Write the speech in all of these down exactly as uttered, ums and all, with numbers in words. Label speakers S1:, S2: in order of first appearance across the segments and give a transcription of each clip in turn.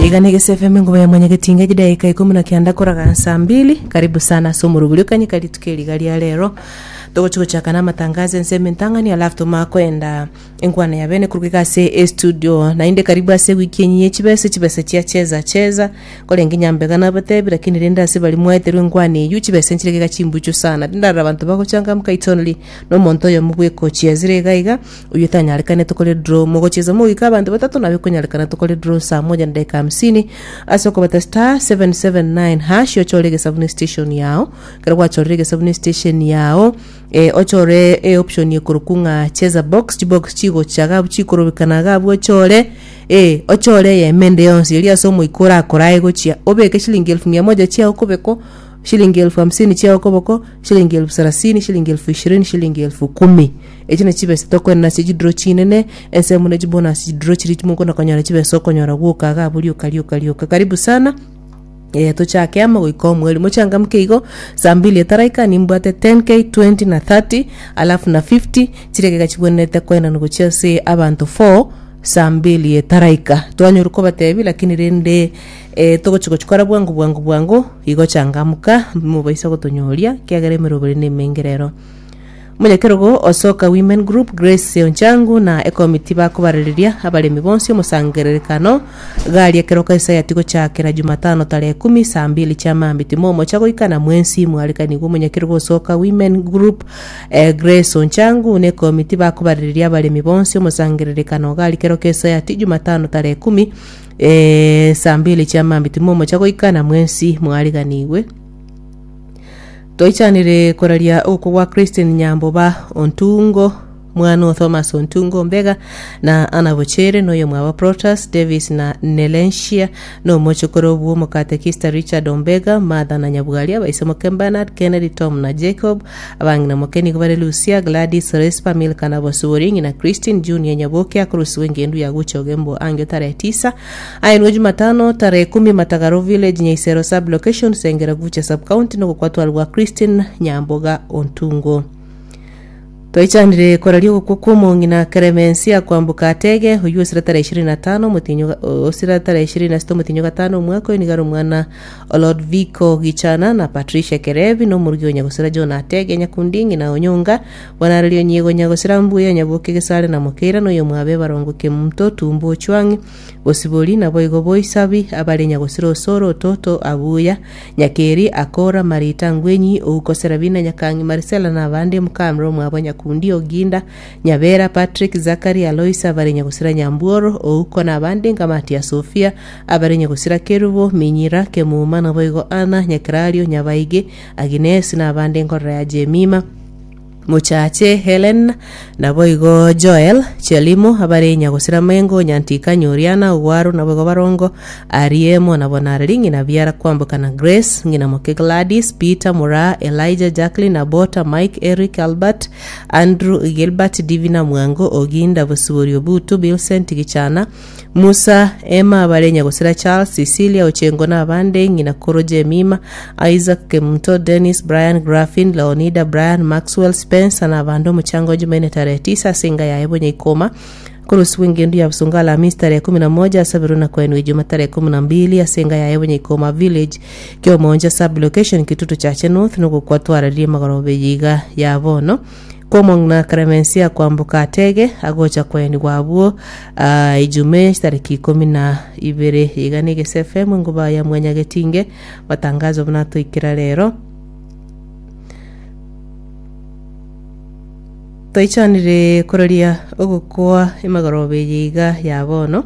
S1: Iga ni Gese F M, engoba ya mwanyagetinga, chidaika ikomi na kianda koraga saa mbili. Karibu sana ase omorobori okanyeka rituko eriga ria rero. Togochi gochaka na amatangazo ensemo entang'ani, alafu tomanye koenda enkwana ya bene korwa iga ase estudio. Naende karibu ase ewiki enyi ye chibesa, chibesa chia cheza cheza. Korenge nyambega nabatebi, lakini rende ase baria mwaeterwe enkwana eywo, chibesa nchire iga chimbuchu sana. Tindarora abanto bagochangamka, it's only na omonto oyomo bwekochiezire iga iga, oywo etanyarekane tokore draw. Mogochieza mogoika abanto batato, nabo ekonyarekana tokore draw saa moja na dakika hamsini ase okobata star seven seven nine hash, ochore egesabuni station yao. Ekero gwachorire egesabuni station yao, eh, ochore e option ekorokwa ng'a cheza box, chibox chigocha iga abwo chikorobekana iga abwo, ochore eh, ochore eyemo ende yonsi eria ase omoika orakorae gochia obeke shilingi elfu mia moja chiao koboko, shilingi elfu hamsini chiao koboko, shilingi elfu thelathini, shilingi elfu ishirini, shilingi elfu kumi. Echi nachi chibesa tokoenana ase chidraw chinene ensemo na chibonus, chidraw chiri mokona konyora chibesa okonyora gwoka iga abwo rioka rioka rioka. Karibu sana. Eh, tochake amo goika omweri mochangamke igo saa mbili etaraika. Nimbwate ten k, twenty na thirty, alafu na fifty chiregega chibwenerete koenana gochia ase abanto four saa mbili etaraika. Twanyora kobatebi, lakini rende eh, togochi gochikora bwango bwango bwango igo. Changamuka, mobaisa gotonyoria kiagera emeroberi na emenge rero. Omonyakerogo Osoka Women Group Grace Onchangu na ekomiti bakobarereria abaremi bonsi omosangererekano gari ekero kaisayati gochakera Jumatano tarehe kumi saa mbili chia mambi. Timomocha goika na mwensi mwarikanigwe. Omonyakerogo Osoka Women Group eh, Grace Onchangu na ekomiti bakobarereria abaremi bonsi omosangererekano gari kero kesayati Jumatano tarehe kumi eh, saa mbili chia mambi. Timomocha goika na mwensi mwariganigwe. Toichanire koraria oko gwa Christine Nyamboba Ontungo, mwana o Thomas Ontungo Mbega na Ana Bochere, noyo mwaba Protas Davis na Nelensia, no mochokoro bwo omokatekista Richard Ombega, Martha na Nyabwaria, baise moke Bernard, Kennedy, Tom na Jacob, abang'ina moke nigo bare Lucia, Gladys, Respa, Milka na Bosibori. Ng'ina Christine Junior Nyaboke akorusiwa engendu ya gucha ogembo angio tarehe tisa ayenwe Jumatano tarehe kumi, Matagaro Village, Nyaisero sub location, Sengera Gucha sub county, nogokwatwarwa Christine Nyamboga Ontungo. Twaichanire koraria ogokwa kwa omong'ina Clemencia Kwamboka Atege, oywo osira tarehe ishirini na tano motinyo, osira tarehe ishirini na sita motinyo gatano omwaka oyo. Nigaro omwana Olodvico Gichana na Patricia Kerebi, na omorugi onyagosira John Atege Nyakundi, ng'ina Onyonga bonarerio nyiego nyagosira Mbuya Nyaboke Gesare na Mokeira, na oyo mwabe Barongo Kemunto Tumbo Ochwang'i Bosibori, nabo igo Boisabi abare nyagosira Osoro Ototo Abuya Nyakeri Akora Marita Ngwenyi Oukosera Bina Nyakang'i Marisela na abande. Mukamro mwabo Nyakundi Oginda Nyabera Patrick Zakari Aloisa abare nyagosira Nyambuoro Ouko na abande. Nkamati ya Sofia abare nyagosira Kerubo Minyira Kemuma, nabo igo Ana Nyakerario Nyabaige Agnes na abande. Nkorora ya Jemima Muchache Helen, nabo igo Joel Chelimo abare nyagosira Mengo Nyantika Nyoriana Ogwaro, nabo igo Barongo Ariemo, nabo nareri ng'ina biara Kwamboka na Grace, ng'ina moke Gladys, Peter Mura, Elijah, Jacqueline Abota, Mike, Eric, Albert, Andrew, Gilbert, Divina Mwango Oginda Bosibori Obutu Bilsent Gichana Musa Emma abare nyagosira Charles, Cecilia Ochengo na abande. Ng'ina koro Jemima, Isaac Kemunto, Dennis, Brian, Grafin, Leonida, Brian, Maxwell, Spencer na abande. Omuchango Jumanne tarehe tisa singa ya Ebonya Ikoma kurusiwa engendu ya Busonga Alhamisi tarehe kumi na moja asabiru na kwenu Ijuma tarehe kumi na mbili asenga ya Ebonya Ikoma Village, Kiomonja sub location, Kitutu Chache North, nugukwatwararie magorobe yiga ya bono komong'ina Clemencia Kwamboka Atege agocha kweni gwabwo uh, ijume tariki ikumi na ibere. Iga ni Gese F M, nguba ya mwanyagetinge. Matangazo buna toikera rero, toichanire koraria ogokwa emagorobe yiga ya bono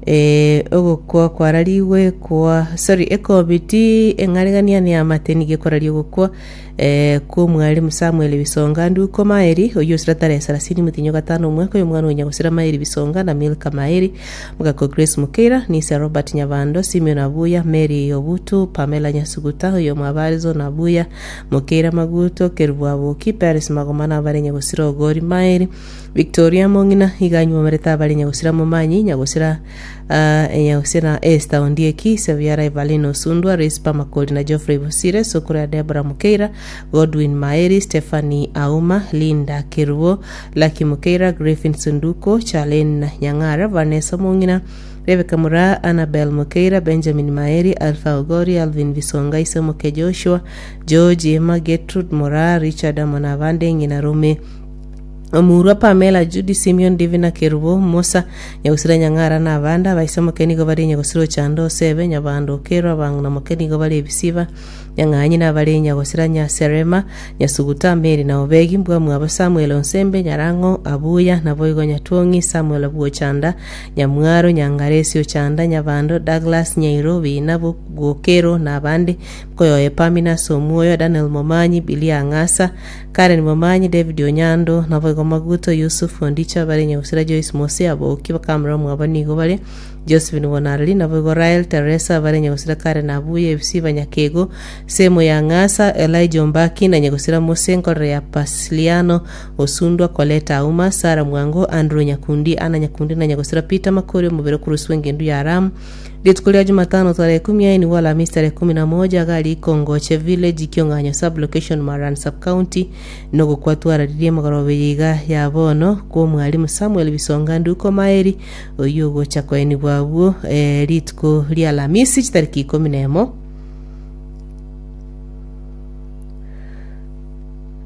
S1: eh, ogokwa kwarariwe kwa sorry ekomiti eng'arigania ni amateni gekoraria ogokwa eh, kwa omwalimu Samuel Bisonga Nduko Maeri, oyo osira tarehe thelathini mutinyo gatano omwaka oyo. Omwana onya gosira Maeri Bisonga na Milka Maeri, mugako Grace Mukeira, Nisa Robert Nyabando, Simeon Abuya, Mary Obutu, Pamela Nyasuguta, oyo mwabarizo na Abuya Mukeira, Maguto Kerubwaboki, Paris Magoma na abare nyagosira Ogori Maeri, Victoria Mong'ina iganywomerete abare nyagosira Momanyi nyagosira uh, nyagosira Esther Ondieki Seviara, Evelyn Osundwa, Rispa Makori na Geoffrey Bosire, Sukura ya Deborah Mukeira, Godwin Maeri, Stephanie Auma, Linda Kerubo, Lucky Mukeira, Griffin Sunduko, Charlene Nyang'ara, Vanessa Mong'ina. Rebecca Mura, Annabel Mokeira, Benjamin Maeri, Alpha Ogori, Alvin Bisonga, Isemoke Joshua, George Emma, Gertrude Mura, Richard Amona abande ng'ina Rome Omurwa Pamela Judy Simeon Divina Kerubo Musa Nyagusira Nyang'ara na abanda baisemoke nigo bari Nyagusira Ochando Osebe Nyabando Okero abang'ina moke nigo bari ebisiba Nyang'anyi nabare Nyagusira Nyaserema Nyasuguta Mary na Obegi Mbwa mwabo Samuel Onsembe Nyarang'o Abuya Naboigo Nyatwong'i Samuel Bwochanda Nyamwaro Nyangaresi Ochanda Nyabando Douglas Nyairobi nabo Gokero na abande Koyoe Pamina Somuoyo Daniel Momanyi Billy Ang'asa Karen Momanyi David Onyando Naboigo Maguto Yusuf Ondicha bare Nyagusira Joyce Mose Aboki bakamera mwabo nigo bare Josephine Bonarari Naboigo Rael Teresa bare Nyagusira Karen Abuya Ebisiba Nyakego Semo ya Ng'asa Elijah Ombaki na Nyagusira Mose Nkorere ya Pasiliano Osundwa Coleta Auma Sara Mwango Andrew Nyakundi Ana Nyakundi na Nyagusira Peter Makori omobere okoroswa engendu ya Ram rituko ria Jumatano tarehe kumi aini wala Alhamisi tarehe kumi na moja gari Kongoche village Kiong'anyo sub location Maran sub county nogokwatwararirie magorobe yiga ya bono kwa mwalimu Samuel Bisonga Nduko Maeri oyo gocha koeni bwabwo eh, rituko ria Alhamisi chitariki ikumi na emo.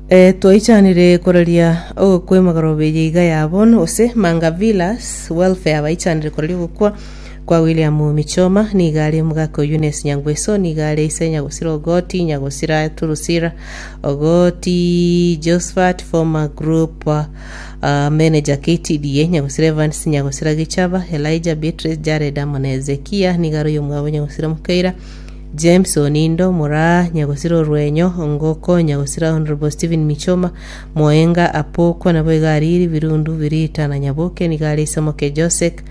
S1: E, twaichanire koraria ogokwa emagorobe yiga ya bono ose Manga Villas welfare baichanire koraria ogokwa kwa William Michoma nigare mugako Eunice Nyangweso nigare ise Nyagusira Ogoti Nyagusira Turusira Ogoti Josephat former group uh, manager K T D A Nyagusira Evans Nyagusira Gichaba Elijah Beatrice Jared Amon Ezekia nigare uyo mwabo Nyagusira Mukeira James Onindo Mura Nyagusira Orwenyo Ngoko Nyagusira Honorable Stephen Michoma Moenga Apoko nabo igariri Birundu Birita na Nyaboke nigare Isemoke Joseph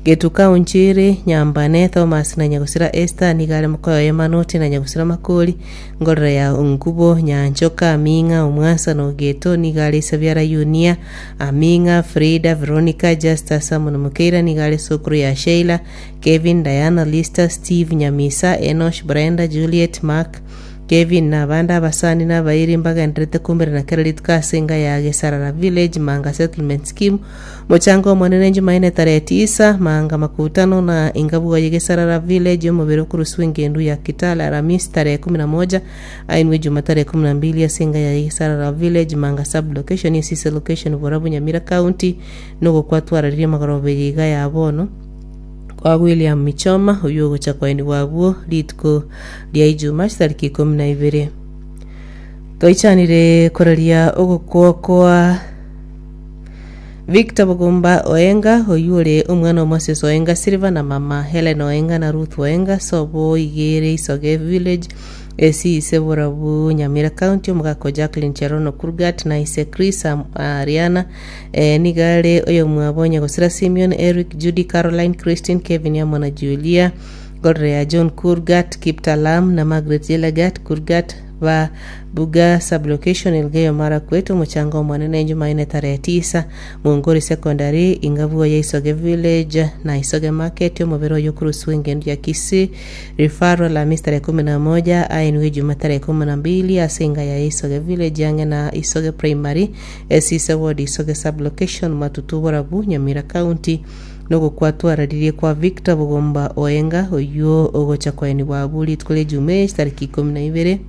S1: Getuka Unchiri Nyambane Thomas na Nyagusira Esther nigare Mukoyo Emanoti na Nyagusira Makori Ngorora ya Ungubo Nyanchoka Aminga Omwasa no Geto nigare Isabiara Yunia Aminga Frida Veronica Justa Samon Mukeira nigare Sokuru ya Sheila Kevin Diana Lister Steve Nyamisa Enosh Brenda Juliet Mark Kevin na abanda abasani n'abayiri mbagenderete kumbere na kera rituko ase enga ya Gesarara Village Manga Settlement Scheme mochango omonene Jumanne tarehe tisa Manga makutano na ingabwa ya Gesarara Village omobere okoroswa engendu ya Kitale Alhamisi tarehe kumi na moja ainwe Juma tarehe kumi na mbili ase enga ya Gesarara Village Manga sub location esise location Borabu Nyamira County nogokwatwararirie magorobe yiga ya bono kwa William Michoma uyu ogocha kwaeni bwabwo rituko ria Ijuma chitariki ikumi na ibere. Twaichanire koraria ogokwa kwa Victor Bugumba Oenga oyu ore omwana o Moses Oenga Silva na mama Helen Oenga na Ruth Oenga sobo igere Isoge Village esi Borabu Nyamira County omogako Jacqueline Cherono Kurgat na ise Chris Ariana e, nigare oyo mwabo Nyagosira Simeon Eric Judy Caroline Christine Kevin Yamona Julia Godrea John Kurgat Kiptalam na Margaret Yelagat Kurgat ba Buga sublocation Elgeyo Marakwet omuchango omonene Jumanne tarehe tisa Mungori Secondary ingabua ya Isoge Village na Isoge Market omobere oyo okoroswa engendu ya Kisii referral Alhamisi tarehe kumi na moja ainwe Juma tarehe kumi na mbili ase enga ya Isoge Village yange na Isoge Primary esise ward Isoge sublocation Matutu Borabu Nyamira County nogokwatwararirie kwa Victor Bugomba Oenga oyo ogocha kwaeni bwabu rituko ria Jumaa tariki ikumi na ibere.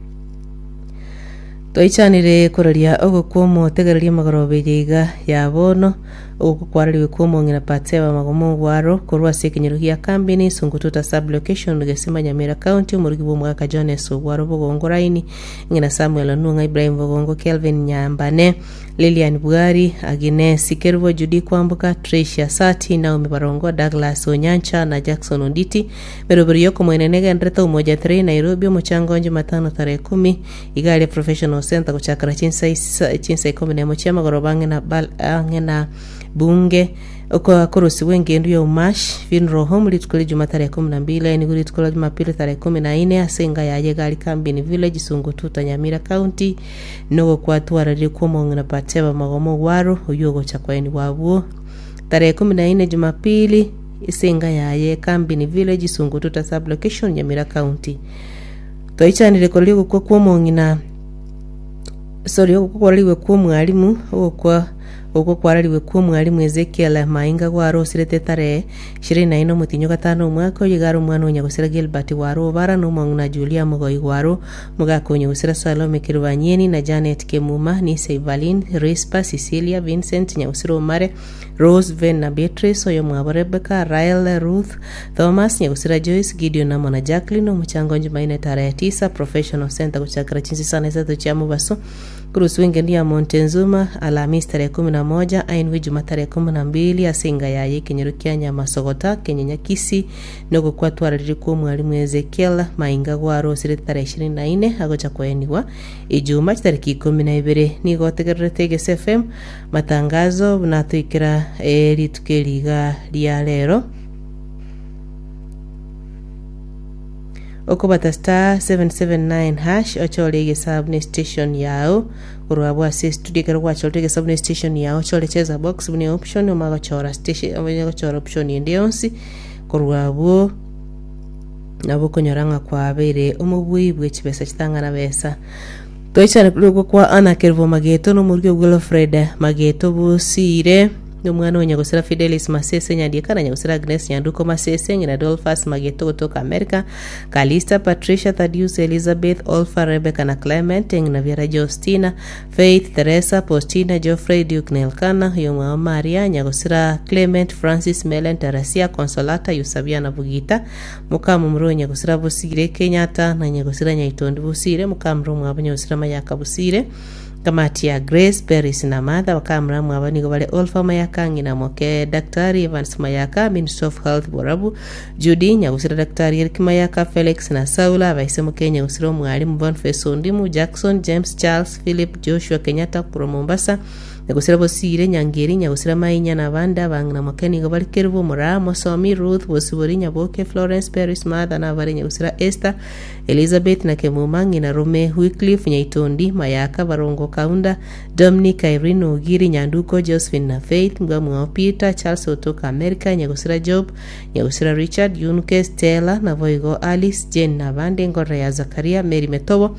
S1: Twaichanire koraria ogokwa omotegereria magorobe yiga ya bono ogokwarariwe kwa omong'ina Patseba Magomo Ogwaro korwa ase ekenyoro gia Kambini Sungututa sub location Gesima Nyamira County omorugi bwa omogaka Jones Ogwaro Bogongo Raini ng'ina Samuel Onung'a Ibrahim Bogongo Kelvin Nyambane Lilian Bwari Agnes Kerubo Judy Kwamboka Tricia Sati Naomi Barongo Douglas Onyancha na Jackson Onditi meroberi yokomwenene genderete Umoja three Nairobi omochango Jumatano tarehe kumi igari Professional Center gochakara chinsa chinsa ikumi na emo chia magoroba ang'e na ang'e na bunge okorosiwa engendu ya Umash Funeral Home rituko ria Juma tarehe kumi na mbili nigo rituko ria Jumapili tarehe kumi na ine ase enga yaye gari Kambini Village Sungututa Nyamira County nogokwatwararirie kwa omong'ina Patseba Magomo Ogwaro oyo ogocha kwaeni bwabwo tarehe kumi na ine Jumapili ase enga yaye Kambini Village Sungututa sub location Nyamira County. Twaichanire koraria ogokwa kwa omong'ina sorry ogokwa kwarariwe kwa omwalimu ogokwa Oko kwarariwe kwa omwalimu Ezekiel Mainga gwarosirete tarehe ishirini na ine omotinyo gatano omwaka oyo igare omwana o Nyagosira Gilbert Waro Obara na omong'ina Julia Mugoi Waro omogaka o Nyagosira Salome Kirubanyeni na Janet Kemuma Nise Evaline Rispa Cecilia Vincent Nyagosira Omare Rose Ven na Beatrice oyo mwabo Rebecca Rael Ruth Thomas Nyagosira Joyce Gideon amo na Jacqueline omochango Jumanne tarehe tisa Professional Center gochakera chinsa isano na isato chia mobaso Kurusu engendu ya Montezuma Alhamisi tarehe kumi na moja ainwe Juma tarehe kumi na mbili ase enga yaye ekenyoro kia Nyamasogota Kenya Kisii nogokwatwararire kwa omwalimu Ezekiel Mainga gwarosire tarehe ishirini na ine agocha koenigwa Ijuma chitariki ikumi na ibere nigo otegererete Egese F M matangazo buna toikera eh, rituko eriga ria rero okobata star seven seven nine hash ochore egesabu ne station yao korwa ase studio ekero gwachorete egesabu ne station yao ochore cheza box bune option omagochora station omagochora option ende yonsi korwa abwo nabo okonyora ng'a kwabeire omobui bwe chibesa chitang'ana besa toichane korwa kwa Anna Kerubo Mageto na omorwio Wilfred Mageto Bosire omwana o Nyagosira Fidelis Masese Nyandieka na Nyagosira Agnes Nyanduko Masese ng'ina Dolphus Mageto gotoka America Kalista Patricia Thaddeus Elizabeth Olfa Rebecca na Clement ng'ina Vera Justina Faith Teresa Postina Geoffrey Duke Nelkana yomwa Maria Nyagosira Clement Francis Melen Teresia Consolata Yusabia na Bugita mukamu muro Nyagosira Bosire Kenyatta na Nyagosira Nyaitondi Bosire mukamuro mwabo Nyagosira Mayaka Bosire kamati ya Grace Paris na Martha wakamra mwaba nigo bale Olfa Mayaka ng'ina moke Daktari Evans Mayaka Minister of Health Borabu Judy Nyagusira Daktari Eric Mayaka Felix na Saula abaise moke Nyagusira omwalimu Boniface Ondimu Jackson James Charles Philip Joshua Kenyatta kuro Mombasa Nyagusira Bosire Nyangeri Nyagusira Mainya na abande abang'ina moke nigo bari Kerubo Moraa Mosomi Ruth Bosibori Nyaboke Florence Paris Martha na abare Nyagusira Esther Elizabeth na Kemuma ng'ina Rome Wycliffe Nyaitondi Mayaka Barongo Kaunda Dominic Irene Ogiri Nyanduko Josephine na Faith Mbwamwao Peter Charles otoka America Nyagusira Job Nyagusira Richard Yunke Stella na Voigo Alice Jane na abande Ngorra ya Zakaria Mary Metobo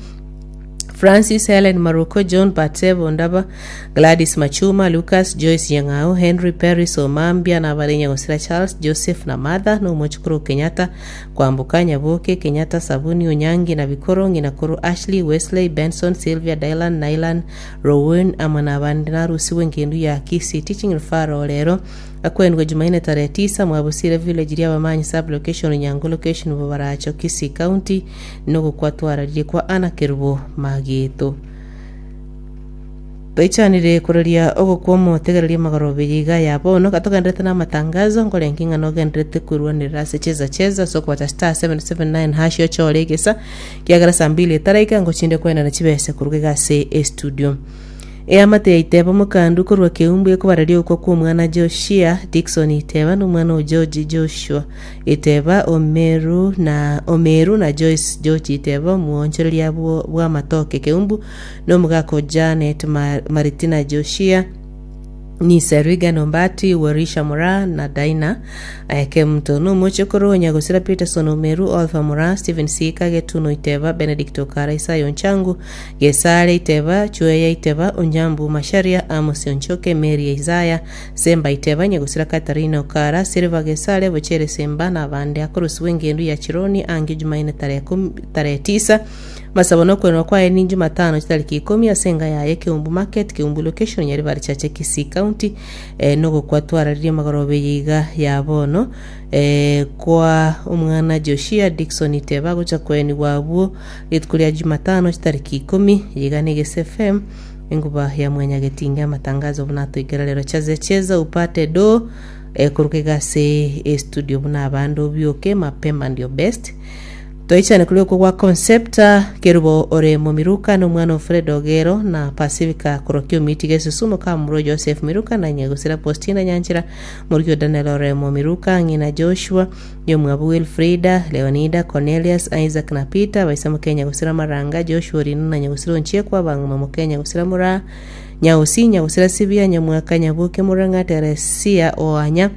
S1: Francis Helen Maruko John Batebo Ndaba Gladys Machuma Lucas Joyce Nyang'ao Henry Paris Omambia na abare Nyagosira Charles Joseph na Martha na omochukuru Kenyatta Kwamboka Nyaboke Kenyatta Sabuni Onyangi na Bikoro ng'ina koro Ashley Wesley Benson Sylvia Dylan Nylan Rowan ama na abande narusiwe engendu ya Kisii Teaching Referral rero akwendwe Jumanne tarehe tisa mwabusire village ria bamanyi sub location Nyango location Bobaracho Kisii County nogokwatwararire kwa Anna Kerubo Mageto toichanire kuroria ogokwa omotegereria magorobe yiga ya bono gatogenderete na amatangazo nkorenki ng'a nogenderete kwerwanera ase cheza cheza so okobata star seven seven nine hash ochore egesa kiagera saa mbili etaraika ngochinde kwenda na chibese koruga iga ase estudio eamate ya Iteba mokandu korwa keumbu ekobararia okwa kwa omwana Joshua Dickson Iteba na omwana o George Joshua Iteba Omeru na Omeru na Joyce George Iteba omuonchoreria bwa matoke keumbu na omogaka o Janet Maritina Joshua Nisa Regan Ombati Warisha Mora na Daina Kemto no mochokoro Nyagosira Peterson Omeru Olfa Mora Stephen Sika Getuno Iteba Benedict Okara Isayo Nchangu Gesare Iteba Chueya Iteba Onjambu Masharia Amos Onchoke Mary Isaya Semba Iteba Nyagosira Katarina Okara Silva Gesare Bochere Semba na abande akorusiwe engendu ya Chironi ange Jumanne tarehe tisa masabo nokwenwa kwaye ni Jumatano chitariki ikumi asenga yaye Keumbu Market Keumbu location Nyaribari Chache Kisii County eh, nogokwatwararirie magorobe yiga ya bono eh, kwa omwana Joshua Dickson Iteba gocha kweni wabwo rituko ria Jumatano chitariki ikumi yiga ni Egese F M enguba ya Mwanyagetinga amatangazo buna toikera rero chaze cheza upate do eh, koruka igase e studio buna abandu obioke mapema ndio best toichane kuri okwo gwa Concepta Kerubo Oremo Miruka na omwana Fred Ogero na Pacifica Korokio Miti Gesusumo Kamuro Joseph Miruka na Nyagosira Postina Nyanchira Murikio Daniel Oremo Miruka ng'ina Joshua Yomwabu Wilfrida Leonida Cornelius Isaac na Peter baisa Kenya Nyagosira Maranga Joshua Rino na Nyagosira Onchiekwa bang'uma Mukenya Nyagosira Mura Nyausi Nyagosira Sibia Nyamwaka Nyabuke Murang'a Teresia Oanya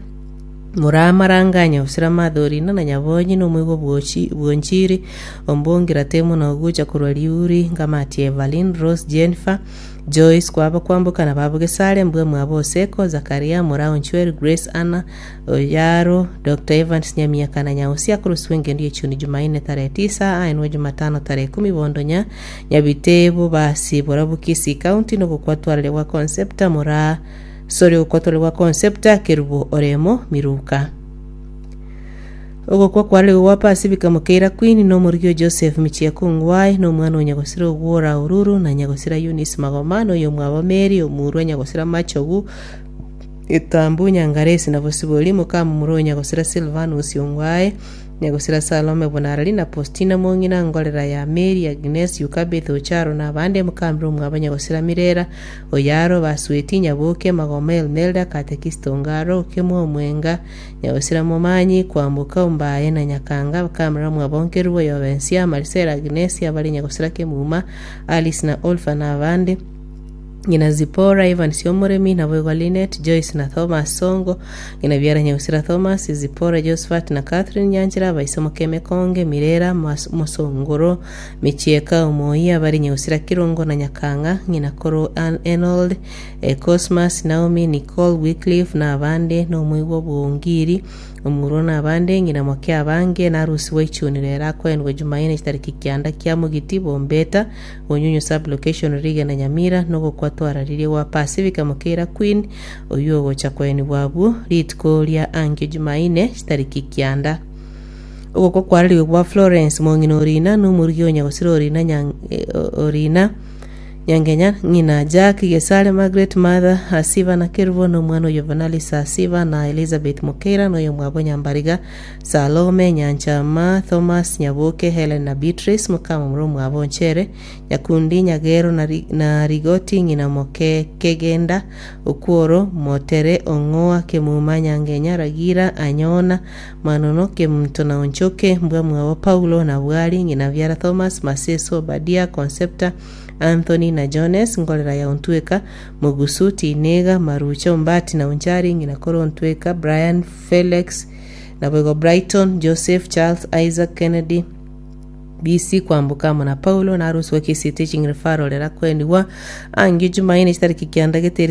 S1: Muramaranga Nyabusira Mathorina na Nyabonyi na omoigwa bwochi bwonchiri ombongira temo na ogucha korwa Riuri Ngamati Evelyn Rose Jennifer Joyce kwaba kwamboka na babo Gesare mbwe mwabo Oseko Zakaria Murao Nchweri Grace Anna Oyaro Dr Evans Nyamiaka na Nyausia koroswa engendo yechuni Jumanne tarehe tisa aenwe Jumatano tarehe kumi Bondonya Nyabitebo basi Borabu Kisii County nogokwatwarire gwa Concepta Mura sorry gokwatwarire gwa Concepta Kerubo Oremo Miruka ogokwa kwarire gwa Pacifica Mukeira Queen na omorigi o Joseph Michieko Ngwai na omwana o Nyagosira Ogwora Oruru na Nyagosira Eunice Magoma na oyo mwabo Mary Omurwa Nyagosira Machogu Etambu Nyangaresi na Bosibori Mukamumuro o Nyagosira Silvanus Ongwae Nyagosira Salome Bonarari na Postina Mong'ina Ngorera ya Mary Agnes Yukabeth Ocharo na abande Mukamira omwabo Nyagosira Mirera Oyaro Basweti Nyaboke Magoma Elmelda Katekista Ongaro Okemwa Omwenga Nyagosira Momanyi Kwamboka Ombaye na Nyakanga Bakamira mwabo Nkerubo Yobensia Marisela Agnes abari Nyagosira Kemuma Alice na Olfa na abande ng'ina Zipora Ivan Siomoremi na Boigwa Linet Joyce na Thomas Songo ng'ina biara Nyagusira Thomas Zipora Josephat na Catherine Nyanchera baisomo Kemekonge Mirera Mas- Mosongoro Michieka Omoi abari Nyagusira Kirungo na Nyakanga ng'ina Koro Ann Enold eh, Cosmas Naomi Nicole Wycliffe na abande na omoigwa Bwongiri omurwa na abande ng'ina moke abange narusiwa ichuni rero akoendwa Jumanne chitariki kianda kia Mugiti Bombeta Onyunyu sublocation Riga na Nyamira nogokwatwararirie gwa Pacifica Mukeira Queen oyo ogocha kwenigwa abwo rituko ria angio Jumanne chitariki kianda ogokwa kwarariwe gwa Florence Mong'ina Orina na omorugi o Nyagosira Orina Nyang- eh, Orina Nyangenya ng'ina Jack Gesare Margaret Mother Asiva na Kerubo na omwana oyo Vanalisa Asiva na Elizabeth Mukeira na oyo mwabo Nyambariga Salome Nyanchama Thomas Nyaboke Helen na Beatrice mukama muro mwabo Nchere Nyakundi Nyagero na, Ri- na Rigoti ng'ina Moke Kegenda Okworo Motere Ong'oa Kemuma Nyangenya Ragira Anyona Manono Kemunto na Onchoke mbwa mwabo Paulo na Bwari ng'ina Biara Thomas Maseso Obadia Concepta Anthony na Jones ngorera ya Ontweka Mugusu Tinega Marucha Ombati na Onchari ng'ina Koro Ontweka Brian Felix na Boigo Brighton Joseph Charles Isaac Kennedy B C kwambuka amo na Paulo na arusi wa Kisii Teaching Referral era kwendigwa angi Jumaine chitariki kianda geteri